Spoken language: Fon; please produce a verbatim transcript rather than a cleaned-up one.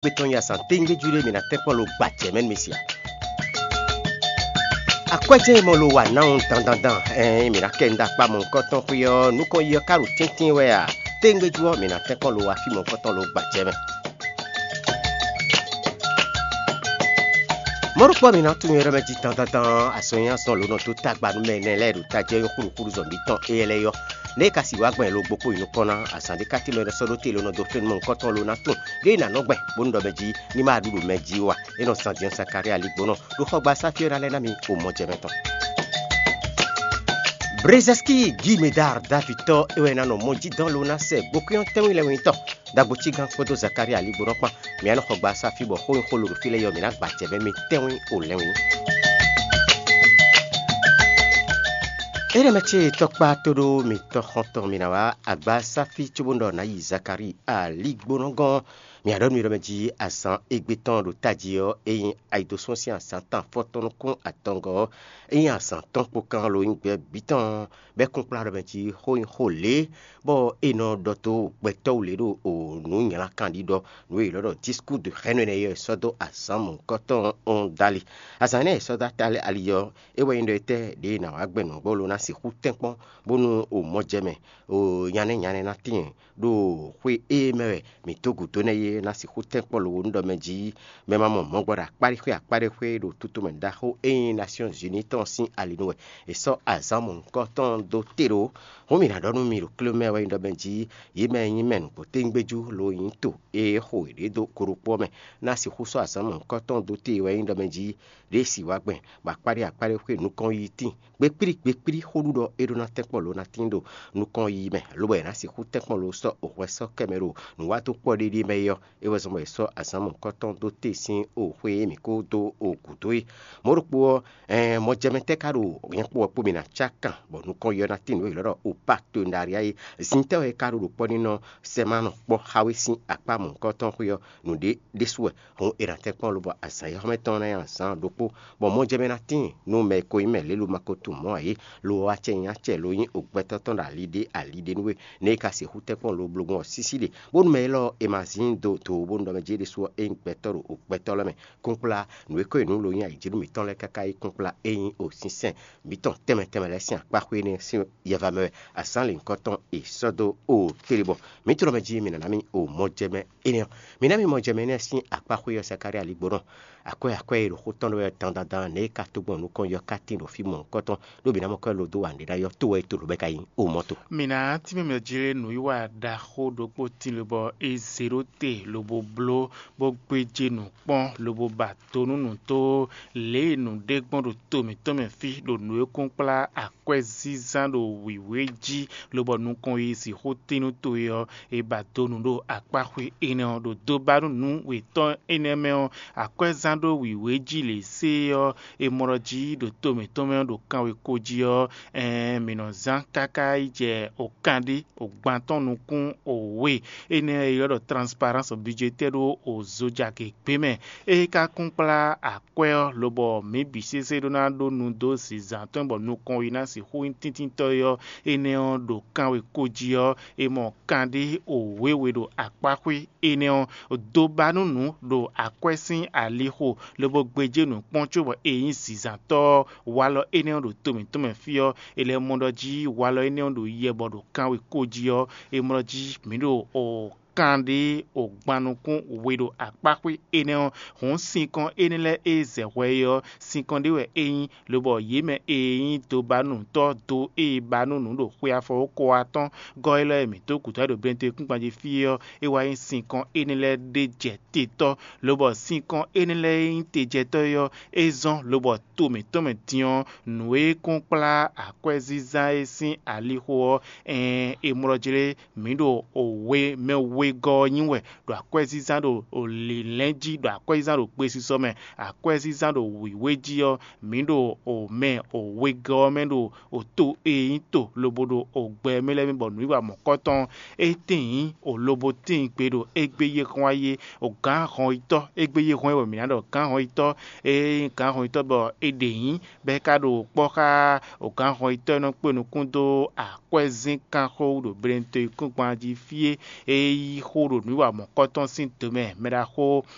Gbé tɔn nyi azǎn téŋgbéjú ɖé mǐ ná tɛ́nkpɔ́n lo gba jɛ̌ mɛ nú mi se a? Akwɛ́ jɛ́n e mɔ lo wa nawun dandandan, ɛɛn mǐ ná kɛ nda kpa mɔ̌hunkɔtɔn xwé ɔ́, nukɔn yi ɔ́ ka ɖo tɛ́ntin wɛ a? Téŋgbéjú ɔ́, mǐ ná tɛ́nkpɔ́n lo wa fí mɔ̌hunkɔtɔn lo gba jɛ̌ mɛ. Mɔ̌ ɖokpó ɔ́, mǐ ná tunwun nyɔ̌ɖɔ mɛ jí dandandan, azɔn e azɔn lǒ nɔ dó tagba nú mɛ énɛ́ lɛ́ɛ ɖo tají ɔ́ nyí xúɖuxúɖu zɔn mǐtɔn éyɛ́ lɛ́ɛ yɔ́. Nɛ̌ e ka sixú wá gbɔn lo gbokpó yi nukɔn ná? Azǎn ɖé ka tín mɛ ɖɔ sɔ́ ɖó te lo nɔ dó fɛ́nú mɔ̌hunkɔtɔn lo ná tunwun ɖěe nǎ nɔ gbɛn bónú ɖɔ mɛ jí ní ma ɖu ɖo mɛ jí ó a? É nɔ zan din ɔ́, Zakalía ligbónɔ ɖo xɔgbasá fí ɔ́ ná lɛ́ ná mi omɔjɛmɛ tɔn. Brezɛ́skí Gímedar Davitɔ́ é wɛ ná nɔ mɔ jí dɔn lo ná sɛ gbokúnyɔ́ tɛ́nwí lɛ́nwítɔ́. Dagbocí gán kpódó Zakalía ligbónɔ kpán, mǐ ná nɔ xɔgbasá fí bɔ xó e xó lo ɖo fí lɛ́ɛ ɔ́, mǐ ná gba acɛ bɛ́ mɛ tɛ́nwí o lɛ́nwí. Énɛ́ mɛ ce tɔkpá tóɖó mitɔn xɔntɔn mǐ ná wá agbasáfí cóbónɔ ɖɔ nǎ yi Zakalíi aligbónɔ gɔ́n. Mǐ ná ɖɔ nú mi ɖɔ mɛ jí azǎn égbé tɔn ɖo tají ɔ́, é nyí ayidosɔ́ sín azǎn tɔn afɔtɔn nukún atɔngɔ́ ɔ́, é nyí azǎn tɔn kpó kán lo nyí gbɛ bǐ tɔn, bɔ é kún kplá ɖɔ mɛ jí xó nyí xó lě, bɔ è nɔ ɖɔ dó gbɛtɔ́ wú lě ɖo nǔ nylá kanɖíɖɔ, nǔ e è nɔ ɖɔ discours de haine énɛ́ ɔ́, è sɔ́ dó azǎn mɔ̌hunkɔtɔn ɔ́ dali. Azǎn énɛ́ è sɔ́ dó atali ali ɔ́, é wɛ nyí ɖɔ étɛ́ ɖě è nǎ wá gbɛn nǔgbó lo ná sixú tɛ́nkpɔ́n, bónú o mɔ jɛ mɛ, o nyanɛ́ nyanɛ́ ná tíin ɖo xwé e mɛ wɛ mǐ dó gǔdo nɛ́ é ná sixú tɛ́nkpɔ́n lo nú ɖɔ mɛ jí mɛ ma mɔ mɔ̌ gbɔ ɖo akpáɖéxwé akpáɖéxwé ɖo tutu mɛ ɖaxó e nyí Nasyɔ́n Zini tɔn sín ali nu wɛ è sɔ́ azǎn mɔ̌hunkɔtɔn dó te ɖó. Hǔn mǐ ná ɖɔ nú mi ɖo klé mɛ wɛ nyí ɖɔ mɛ jí yě mɛ e nyí mɛ nǔgbó téŋgbéjú lo nyí to e xo yěɖée dó go ɖokpó ɔ́ mɛ ná sixú sɔ́ azǎn mɔ̌hunkɔtɔn dó te wɛ nyí ɖɔ mɛ jí ɖěe si wá gbɛn, bɔ akpáɖé akpáɖé xwé nukɔn yi tíin. Gbekplí gbekplí xóɖuɖɔ é ɖó ná tɛ́nkpɔ́n lo ná tín ɖo nukɔn yi mɛ, lobo è nǎ sixú tɛ́nkpɔ́n lo sɔ́ òhwɛ sɔ́ kɛ mɛ ɖo nǔwatɔ́ kpɔ́ ɖéɖé mɛ é ɔ́, é wɛ zɔ́n bɔ è sɔ́ azǎn mɔ̌hunkɔtɔn dó te sín oxwé e mǐ kó dó gǔdo é. Mɔ̌ ɖokpó ɔ́, ɛɛn mɔjɛmɛ tɛ́ ka ɖo nyɛ kpó wɛ kpó mì ná cá kan, bɔ nukɔn yi ɔ́ ná tín nǔ e è nɔ ɖɔ opakto ɖaɖia é. Zintɛ́ wɛ é ka ɖo ɖo kpɔ́ ní nɔ sɛ ma nɔ kpɔ́ xá we sín akpá mɔ̌hunkɔtɔn xwé ɔ́, nǔɖé ɖésú wɛ. Hǔn è nǎ tɛ́nkpɔ́n lobɔ azǎn e xɔ́mɛ tɔn ná nyí azǎn ɖokpó, bɔ mɔjɛmɛ ná tíin nú mɛ e ko nyí mɛ lě lo ma ko tunwun mɔ̌ ǎ é, lo ɔ́, acɛ nyí acɛ lo nyí ogbɛtɔ́ tɔn ɖo ali ɖé ali ɖé nú we, nɛ̌ é ka sixú tɛ́nkpɔ́n lo bló gbɔn ɔ́ sísí ɖe, bónú mɛ élɔ́ è ma zín do dǒ bónú ɖɔ mɛ jí é ɖésú ɔ́, é nyí gbɛtɔ́ ɖo ogbɛtɔ́ lɛ́ɛ mɛ. Kúnkplá nǔ e ko nyí nǔ lo nyí ayǐjínú mǐtɔn lɛ́ɛ káká yi kúnkplá é nyí o sínsɛ́n mǐtɔn tɛnmɛ tɛnmɛ lɛ́ɛ sín akpá xwé énɛ́ sín yɛva mɛ wɛ. Azǎn lǐnkɔ́ tɔn è sɔ́ dó o tlebɔ. Mǐ tlɔ́ mɛ jí mǐ nǎ ná mì o mɔjɛmɛ énɛ́ ɔ́. Mǐ ná mì mɔjɛmɛ énɛ́ sín akpá xwé ɔ́ Zakalía ligbónɔ. Akwɛ́ akwɛ́ e ɖo xó tɔn ɖɔ wɛ dandandan nɛ̌ é ka tó gbɔn nukɔn yi ɔ́ ka tíin ɖo fí mɔ̌hunkɔtɔn, ɖó mǐ ná mɔ kwɛ́ lo dó wa nǔɖé ná yɔ́ to wɛ é to lǒ bɔ é ka nyí o mɔ to. Mǐ ná tínmɛ mɛ jlé nǔwiwa ɖaxó ɖokpó tín lobɔ é zě ɖó te lobo bló, bó gbéjé nǔ kpɔ́n lobo ba do nú nǔ tó lě e nǔɖé gbɔn ɖo to mǐtɔn mɛ fí ɖo nǔ e kún kplá akwɛ́zínzán ɖo wǐwé jí, lobɔ nukɔn yi sixú tín nú to é ɔ́, è ba do nǔ ɖo akpá xwé énɛ́ ɔ́ ɖo dó ba nú nǔ wětɔ́ énɛ́ mɛ ɔ́, akwɛ́zán ɖó wǐwé jí lě sé ɔ́, è mɔ ɖɔ jí ɖo to mǐtɔn mɛ ɔ́ ɖo kanwekó jí ɔ́, ɛɛn mǐ nɔ zán káká yi jɛ okanɖé ogbantɔ́ nukún owe énɛ́ e ylɔ́ ɖɔ transparence budgétaire ɖó ozojagě gbé mɛ. É ka kún kplá akwɛ́ ɔ́, lobɔ mǐ bǐ sésé ɖó ná ɖó nu dó zǐnzán tɔn bɔ nukɔn yi ná sixú nyí tíntíntɔ́ é ɔ́, énɛ́ ɔ́ ɖo kanwekó jí ɔ́, è mɔ kanɖé owe we ɖo akpá xwé énɛ́ ɔ́, dó ba nú nǔ ɖo akwɛ́ sín alixo, lobo gbéjé nǔ kpɔ́n cóbɔ è nyí zǐnzántɔ́ ɔ́, walɔ énɛ́ ɔ́ ɖo to mǐtɔn mɛ fí ɔ́, è lɛ́ mɔ ɖɔ jí walɔ énɛ́ ɔ́ ɖo yɛ bɔ ɖo kanwekó jí ɔ́, è mɔ ɖɔ jí mǐ ɖo o kanɖé o gban nukún we ɖo akpá xwé énɛ́ ɔ́, hǔn sinkɔn énɛ́ lɛ́ɛ e zɛ hwɛ é ɔ́, sinkɔn ɖé wɛ é nyí, lobɔ yě mɛ e nyí dobanútɔ́ do e ba nú nǔ ɖo xwe afɔwókɔ ɔ́ tɔn gɔ́ élɔ́ e mǐ dó gǔdo ɖo Bentekwínkpan jí fí é ɔ́, é wá nyí sinkɔn énɛ́ lɛ́ɛ ɖé jɛ te tɔ́, lobɔ sinkɔn énɛ́ lɛ́ɛ e nyí tejɛtɔ́ é ɔ́, é zɔ́n lobɔ to mǐtɔn mɛ din ɔ́, nǔ e kún kplá akwɛ́zínzán é sín alixo ɔ́, ɛɛn, è mlɔjlé mǐ ɖo we mɛ wegɔ́ ɔ́ nyi wɛ ɖo akwɛ́zínzán ɖo lǐnlɛ́n jí, ɖo akwɛ́zínzán ɖo gbesisɔ mɛ, akwɛ́zínzán ɖo wǐwé jí ɔ́, mǐ ɖo mɛ wegɔ́ ɔ́ mɛ ɖo to e nyí to lobo ɖo gbɛ mɛ lɛ́ɛ mɛ bɔ nǔwiwa mɔ̌kɔtɔn ɔ́, é tíin nyǐ lobo tíin gbe ɖo égbé yi e hɔn wá yi é. Gǎn hɔnyitɔ́, égbé yi e hɔn wá yi wɛ mǐ ná ɖɔ gǎn hɔnyitɔ́, ée nyí gǎn hɔnyitɔ́ bɔ è ɖe nyǐ, bɔ é ka ɖo kpɔ́ xá gǎn hɔnyitɔ́ e nɔ kpé nukún dó akwɛ́zínkanxó wú ɖo Bentekwínkpan jí fí é, é yí xó ɖo nǔwiwa mɔ̌kɔtɔn sín do mɛ, mɛɖaxó